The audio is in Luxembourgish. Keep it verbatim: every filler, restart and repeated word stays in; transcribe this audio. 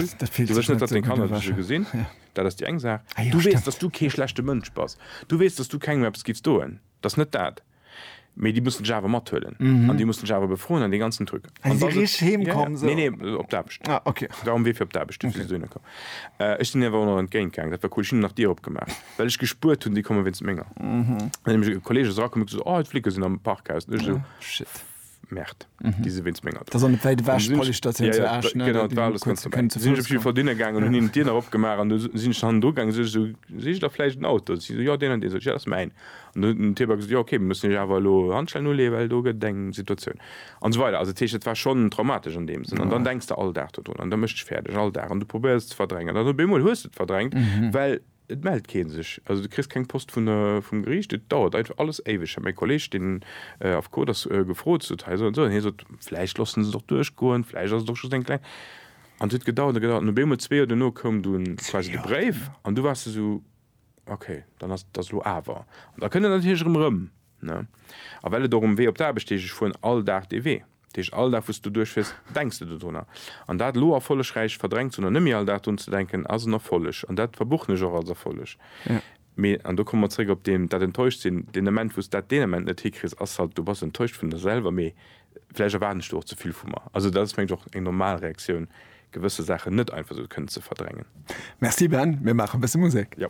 cool. Dat- dat fillt Du wëlls sech net, net datt sou deng gutt Kanner un, dech esou gesinn. Ja. Dat ass déi eng Saach. Ah jo, Du weess, stimmt. datt s du kee schlechte Mënsch bass. Du weess, datt s du kengem eppes giffs doen. Dat ass net dat. Mee déi mussen dech awer mathuelen. An déi mussen dech awer befroen an dee ganzen Truc. Ah, An si da ass et- richteg heem Ja, ja. komm, sou. Nee, nee, op d'Aarbecht. Ah, okay. War um Wee fir op d'Aarbecht, du okay. Dohinner komm. Äh, ech sinn awer och nach entgéint gaangen, dat war cool. Ech hunn nach d'Dier opgemaach, well ech gespuert hunn, déi komme wéinst menger. Mhm. Dann nämlech e Kolleeg ass erakomm, huet gesot, oh, d'Flicke sinn am Parkhaus. An ech esou, Shit. Merde, déi si wéinst menger do. Dat ass an wäit ewech, Dann sinn ech- d'Police-Statioun Ja, zu ja, Esch, ne? Genau, Da dat war alles kurz ganz kënnen dobäi. zu Sinn ech Fouss op jeden Fall kommen. dohinner gaangen und hunn hinnen d'Dier nach opgemaach an du sinn ech hannendru gaangen, sot ech esou, sicht der vläicht en Auto? Si esou, jo, deen an deen. Sot ech, ja, dat ass mäin. An du huet den Typ gesot, jo, okay, mir mussen iech awer elo Handschellen uleeën, well do gëtt et eng Situatioun. An esou weider. Also dat heescht, dat war schonn traumatesch an deem Sënn. An dann denks de all Dag dodrun an da mécht dech fäerdeg, all Dag. An du probéiers et ze verdrängen. An dann op eemol hues de et verdrängt, well et mellt kee sech. Also du kriss keng Post vun der, vum Geriicht. Et dauert einfach alles éiweg. Ech hat mäi Kolleeg, deen Affekot ass, gefrot, sot hei esou an esou. An hie sot, vläicht loosse se et och duerchgoen, vläicht ass et och just eng kleng. An et huet gedauert a gedauert. An op eemol zwee Joer duerno koum dunn quasi de Bréif. An du waars esou, okay, dann ass et elo awer. An da kënnt et natierlech erëm erëm, ne? A well et och um Wee op d'Aarbecht heescht, ech fueren all Dag dee Wee. Dat heescht, all Dag, wou s du duerchfiers, denks de dodrunner. An dat elo erfollegräich verdrängt ze hunn an net méi all Dag drun ze denken, ass en Erfolleg. An dat verbuchen ech och als Erfolleg. Mee, an do komme mer zréck op deen, dat Enttäuscht-sinn, deen Ament, wou s dat deen Ament net hikriss, ass halt, du bass enttäuscht vun der selwer, mee vläicht erwaarden ech do och ze vill vu mer. Also dat ass, mengen ech, och eng normal Reaktioun, gewësse Saachen net einfach esou kënnen ze verdrängen. Merci Ben, mir maache e bësse Musek. Jo.